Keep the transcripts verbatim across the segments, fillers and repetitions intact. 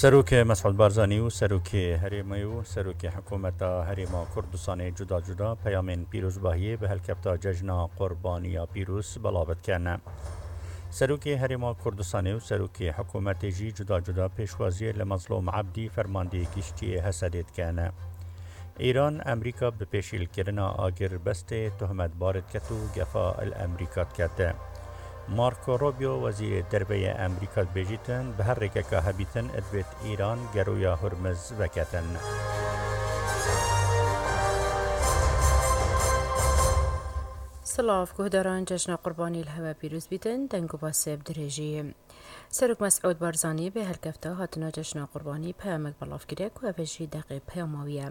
Serokê Mesûd Barzanî û Serokê Herêmê û Serokê Hikûmeta Herêma Kurdistanê cuda cuda peyamên pîrozbahiyê bi helkefta Cejna Qurbaniya Pîroz belav dikin. Serokê Herêma Kurdistanê û Serokê Hikûmetê jî cuda cuda pêşwaziyê li Mezlûm Ebdî, Fermandê Giştî yê Hesedê dikin. Îran, Amerîka bi pêşîlkirina agirbestê tohmetbar diket û gefa li Amerîka diket. Marco Rubio, wezîrê derve yê Amerîka, dibêjîtin, bi her rêkeka hebîtin divêt Îran geroya Hurmiz veketin. Silav, guhdaran, Cejna Qurbanî li hewe pîroz bîtin, deng û basê bi dirêjî. Serok Mesûd Barzanî bi helkefta hatina Cejna Qurbanî peyamek belav kiriye ku ev jî deqê peyama wî ye.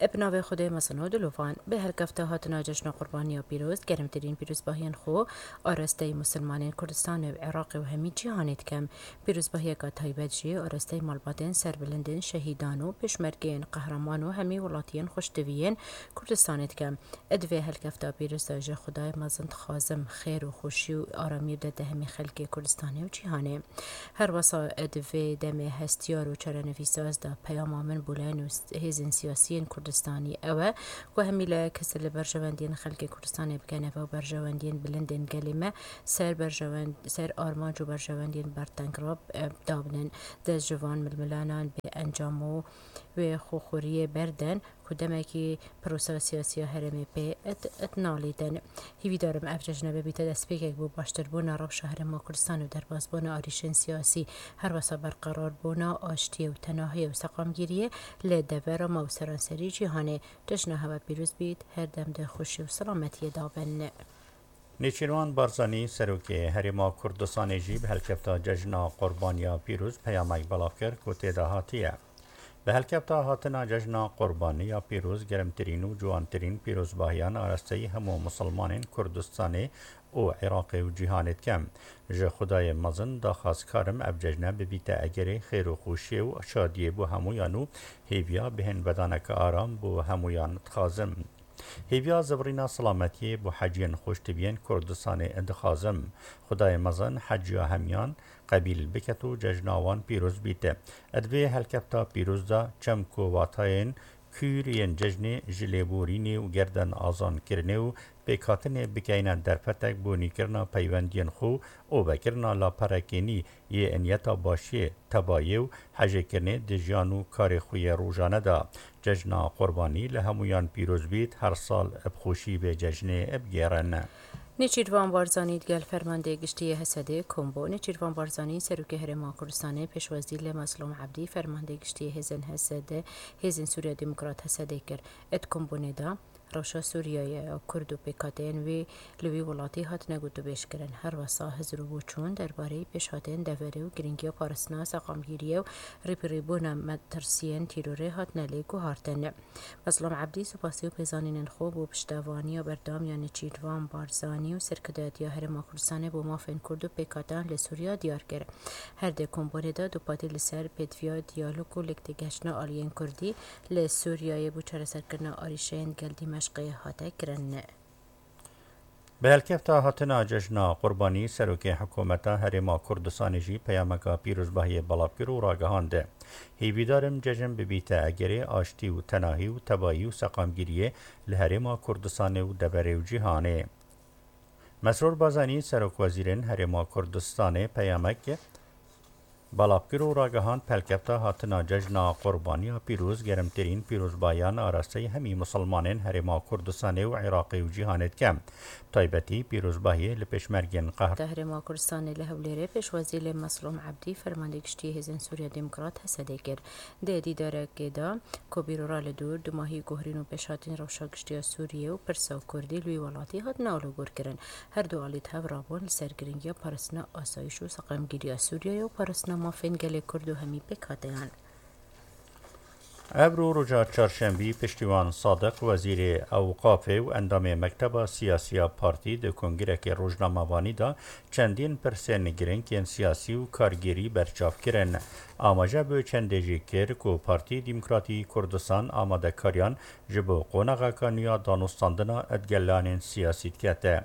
Bi navê Xwedê mezin û dilovan, bi helkefta hatina Cejna Qurbaniya Pîroz, germtirîn pîrozbahiyên xwe arasteyî Musulmanên Kurdistanê û Iraqê û hemî cîhanê dikim. Pîrozbahiyeka taybet jî arasteyî malbatên serbilindên şehîdan û pêşmergeyên qehreman û hemî welatiyên xweştiviyên Kurdistanê dikim. Di vê helkefta pîroz de ji Xwedayê mezin dixwazim xêr û xweşî û aramiyê bide hemî xelkê Kurdistanê û cîhanê. Her wesa di vê demê hestiyar û çarenivîsa ez de peyama min bo layên û s-, hêzên siyasiyên Kurdistanî ew e ku hemî layek hizir li berjewendiyên xelkê Kurdistanê bikin, ev berjewendiyên bilindên gelê me ser berjewend-, ser armanc û berjewendiyên berteng re, e, dabinin. Dest ji van milmilanan bê encam û wê xwekoriyê berden ku demekî prosa siyasî ya herêmê pê et, et nalîtin. Hîvîdar im ev cejne bibîte destpêkek bo baştirbûna rewşa Herêma Kurdistan û derbasbûna arîşên siyasî, her wesa berqerarbûna aştiyê û tenahiyê û seqamgiriyê li devera me û seranserî cîhanê. Cejna hewe pîroz bît, her dem di xweşî û selametiyê de bin. Nêçîrvan Barzanî, Serokê Herêma Kurdistanê jî bi helkefta Cejna Qurbaniya Pîroz peyamek belav kir ku tê de hatiye. Bi helkefta hatina Cejna Qurbaniya Pîroz germtirîn û ciwantirîn pîrozbahiyan arasteyî hemû misilmanên Kurdistanê û Iraqê û cîhanê dikim. Ji Xwedayê mezin daxwazkar im ev cejne bibîte egerê xêr û xweşiyê û şadiyê bo hemûyan û hêviya bihên vedaneke aram bo hemûyan dixwazim. Hêviya zivirîna selametiyê bo heciyên xweştiviyên Kurdistanê dixwazim. Xwedayê mezin heciya hemiyan qebîl biket û cejna wan pîroz bîte. Di vê helkefta pîroz de çemko watayên kûr yên cejnê ji lêborînê û gerden azankirinê û pêkhatinê bikeyne derfetek bo nîkirina peywendiyên xwe û vekirina laperekê nî yê niyeta başiyê, tebayê û hejêkirinê di jiyan û karê xwe yê rojane de. Cejna Qurbanî li hemûyan pîroz bît, her sal bi xweşî vê cejnê bigêrin. Nêçîrvan Barzanî digel Fermandê Giştî yê Hesedê kom bû. Nêçîrvan Barzanî, Serokê Herêma Kurdistanê, pêşwazî li Mezlûm Ebdî, Fermandê Giştî yê Hêzên Hesedê, Hêzên Sûriya Demokrat Hesedê kir. Di kombûnê de rewşa Sûriyeyê ya Kurd û pêkhateyên wî li wî welatî hatine gotûbêjkirin. Her wesa hizir û boçûn derbareyî pêşhatên deverê û girîngiya parastina seqamgiriyê û rêpirîbûna metirsiyên tîrorê hatine lê guhartin. Mezlûm Ebdî supasî û pêzanînên xwe bo piştevaniya berdewam ya Nêçîrvan Barzanî û serkirdayetiya Herêma Kurdistanê bo mafên Kurd û pêkhateyan li Sûriya diyar kir. Her di kombûnê de dupatî li ser pêdiviya diyalog û lêktêgihiştina aliyên Kurdî li Sûriyeyê bo çareserkirina arîşeyên gel Dîmeşqê hate kirin. Bi helkefta hatina Cejna Qurbanî, Serokê Hikûmeta Herêma Kurdistanê jî peyameka pîrozbahiyê belav kir û ragihand, hêvîdar im cejn bibîte egerê aştî û tenahî û tebayî û seqamgiriyê li Herêma Kurdistanê û deverê û cîhanê. Mesrûr Barzanî, Serokwezîrên Herêma Kurdistanê peyamek belav kir û ragihand, pelkefta hatina Cejna Qurbaniya Pîroz germtirîn pîrozbahiyan arasteyî hemî misilmanên Herêma Kurdistanê û Iraqê û cîhanê dike. Taybetî pîrozbahiyê li pêşmergên qehre. Herêma Kurdistanê li Hewlêrê pêşwazî li Meslûm Ebdî, Fermandê Giştî Hêzên Sûriya Demokrat, Hesedê kir. Di dîdarekê de ku bîrora li dûr dumahî guherîn û pêşhatîn rewşa giştî ya Sûriyê û pirsa Kurdî li wî welatî hatine alûgorkirin. Her du alî di hev rabûn li ser girîngiya parastina asayîş û seqemgiriya Sûriyeyê û parastina mafên gelê Kurd û hemî pêkhateyan. Ebro roja çarşembî, Piştîwan Sadiq, wezîrê Ewqafê û endamê Mekteba Siyasî ya Partî, di kongrekê rojnamevanî de çendîn pirsên girîng yên siyasî û kargêrî berçav kirin. Amaje bi çendê jî kir ku Partî Demokratî Kurdistan amadekariyan ji bo qonaxeka nû ya danûstandina di gelanên siyasî dikete.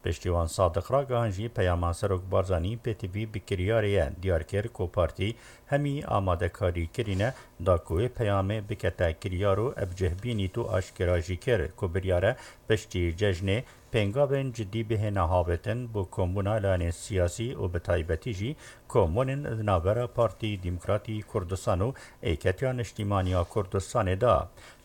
Piştî wan Sadiq ragihan jî peyama Serok Barzanî pêtivî bi kiryarê ye diyar kir ku partî hemî amadekarî kirîne da ku wê peyamê bikete kiryar û ev cih bînît û aşkera jî kir ku biryar e piştî cejnê pêngavên cidî bihêne havêtin bo kombûna layanên siyasî û bi taybetî jî kombûnên di navbera Partî Demokratî Kurdistan û Êketiya Niştîmaniya Kurdistanê de.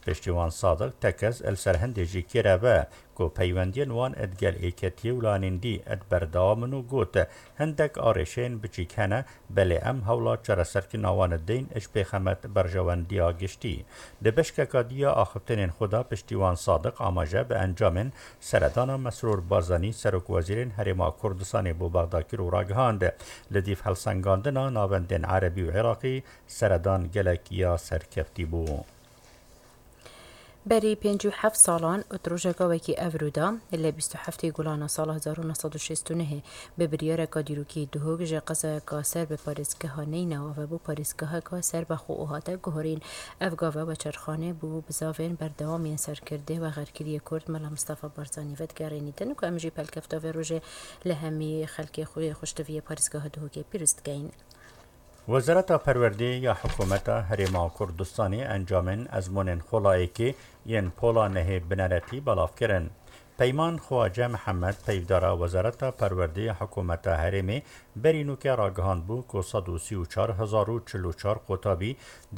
Piştî wan Sadiq tekez li ser hindê jî kêre ve ku peywendiyên wan digel êketiyê û lanên dî berdewam in û got, hindek arêşeyên biçîk hene, belê em hewla çareserkirina wan dideyn ji pêxemet berjewendiya giştî. Di beşkeka dî ya axiftinên xwe de piştî wan Sadiq amaje bi encamên seredana Mesrûr Barzanî Serokwezîrên Herêma Kurdistanê bo Bexda kir û ragihand, li dîv helsengandina navendên Erebî û Iraqî seredan gelek ya serkeftî bû. Berî pêncî û heft salan û di rojeka wekî evrû de, li bîst û heftê Gulana sala hezar û neh sed û şêst û nehê, bi biryareka dîrokî Duhok ji qezayeka ser bi parêzgeha Neynawa ve bû parêzgeheka serbixwe û hate guherîn. Ev gave weçerxane bû bizavên berdewam yên serkirdê û vexerkiriyê Kurd Mela Mistefa Barzanî vedigerînîtin ku em jî pelkefta vê rojê li hemî xelkê xwe xweştiviyê parêzgeha Duhokê pîroz dikeyin. Wezareta Perwerdê ya Hikûmeta Herêma Kurdistanê encamên ezmûnên Xola Êkê yên Pola Nehê bineretî belav kirin. Peyman Xwace Mihemed, peyvdara Wezareta Perwerdê ya Hikûmeta Herêmê, berî nûke ragihand bû ku sed û sî û çar hezar û çil û çar qutabî